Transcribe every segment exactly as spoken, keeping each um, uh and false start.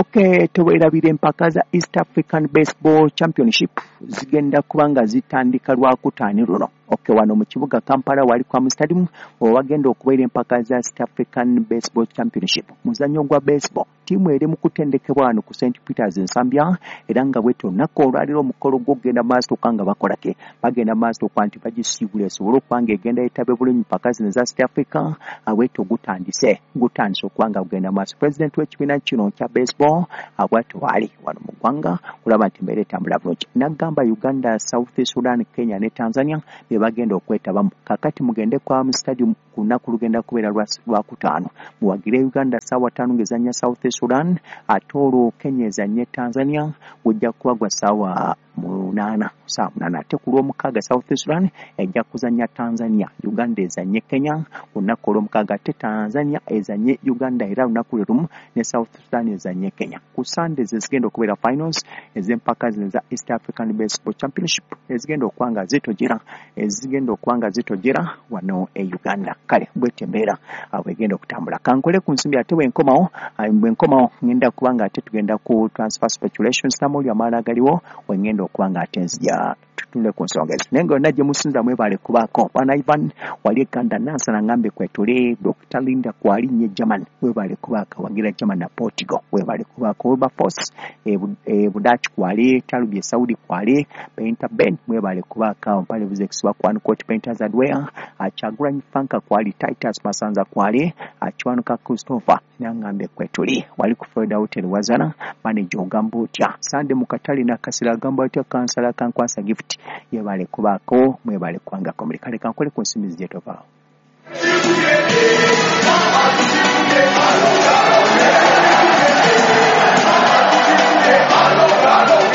Okay, teweerabira empaka za East African Baseball Championship zigenda kuba nga zitandika Lwakutaano luno. Okay, wano mu kibuga Kampala wali kwa stadium wagenda okubeera empaka za East African Baseball Championship. Muzannyo gwa baseball, ttiimu eri mu kutendekebwa wano ku Saint Peters Nsambya, era nga bwetyo olunaku olwaliro omukolo gw'okugenda maaso okuba nga bakola ke bagenda maaso okuba nti bagisiibula esobole okuba nga egenda yetabe bulungi mpaka zino za East Africa. Bwetyo gutandise gutandise okuba nga gugenda maaso. Pulezidenti w'ekibiina kino kya baseball bwatyo waali wano mu ggwanga kulaba nti embeera etambula bulungi, n'agamba Uganda, South Sudan, Kenya ne Tanzania be bagenda okwetabamu. Kakati mugende kwa mu stadium ku lunaku lugenda kubeera Lwakutaano, muwagire Uganda ssaawa ttaano ng'ezannya South Sudan, ate olwo Kenya ezannye Tanzania gujja kuba gwa ssaawa munaana, ssaawa munaana. Ate ku Lwomukaaga South Sudan ejja kuzannya Tanzania, Uganda ezannye Kenya ku lunaku olwomukaaga, ate Tanzania ezannye Uganda era lunaku lwe lumu ne South Sudan ezannye Kenya. Ku Sunday zezigenda okubeera finals ez'empaka zino za East African Baseball Championship ezigenda okuba nga zitojera ezigenda okuba nga zitojera wano e Uganda. Kale bwetyo embeera bwegenda okutambula. Kankole ku nsimbi, ate bwenkomawo bwenkomawo ngenda kuba nga ate tugenda ku transfer speculations namuli amala agaliwo wengenda okuba nga ate nzija tutunule ku nsonga ezo. Naye nga yonna gye musinza mwebale kubaako. Bwana Ivan wali Uganda, Nansana ngambe kwetuli, Doctor Linda kwali nnyo German, webale kubaako, wagira German na Portugal, webale kubaako. Wilberforce e Budachi kwali, Talubye Saudi kwali, Painter Ben mwebale kubaako, Mpale Buzex wa Kwan Court Painters Hardware, Chagulanyi Fanka kwali, Titus Masanza kwali, Achwanuka Christopher nangambe kwetuli, wali ku Florida Hotel Wazana, manager ogamba otya, Sande Mukatali na Kasira agamba otya, Kansala Kankwasa Gift yebale kubaako, mwebale kwangako muli. Kale kankole ku nsimbi gye tovaawo.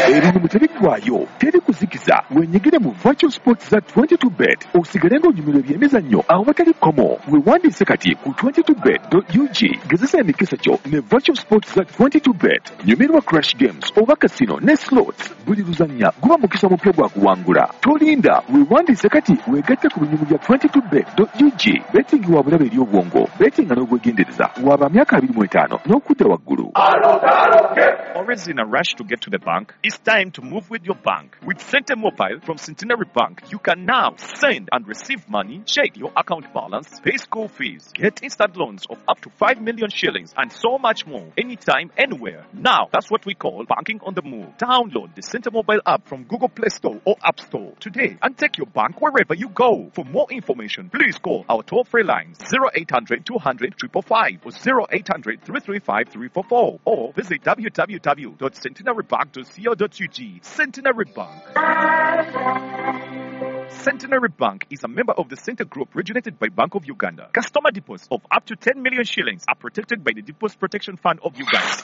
Ebintu tebiggwayo, teri kuzikiza. Wenyigire mu virtual sports za twenty-two bet osigale ng'onyumirwa ebyemizannyo awatali kkomo. Weewandiise kati ku twenty-two bet dot U G. Gezesa emikisa gyo ne virtual sports za twenty-two bet. Nyumirwa crash games oba casino ne slots. Buli luzannya guba mukisa mupya gwa kuwangula. Tolinda, weewandiise kati weegatte ku binyumu bya twenty-two bet dot U G. Betting wa bulabe eri obwongo, betting nga n'obwegendereza. Waba myaka abiri mu etaano n'okudda waggulu. Always in a rush to get to the bank? It's time to move with your bank. With Sente Mobile from Centenary Bank, you can now send and receive money, check your account balance, pay school fees, get instant loans of up to five million shillings, and so much more, anytime, anywhere. Now, that's what we call banking on the move. Download the Sente Mobile app from Google Play Store or App Store today and take your bank wherever you go. For more information, please call our toll-free lines zero eight hundred two hundred five five five or zero eight hundred three three five three four four or visit w w w dot centenary bank dot co dot U G. Centenary Bank. Centenary Bank is a member of the Center Group originated by Bank of Uganda. Customer deposits of up to ten million shillings are protected by the Deposit Protection Fund of Uganda.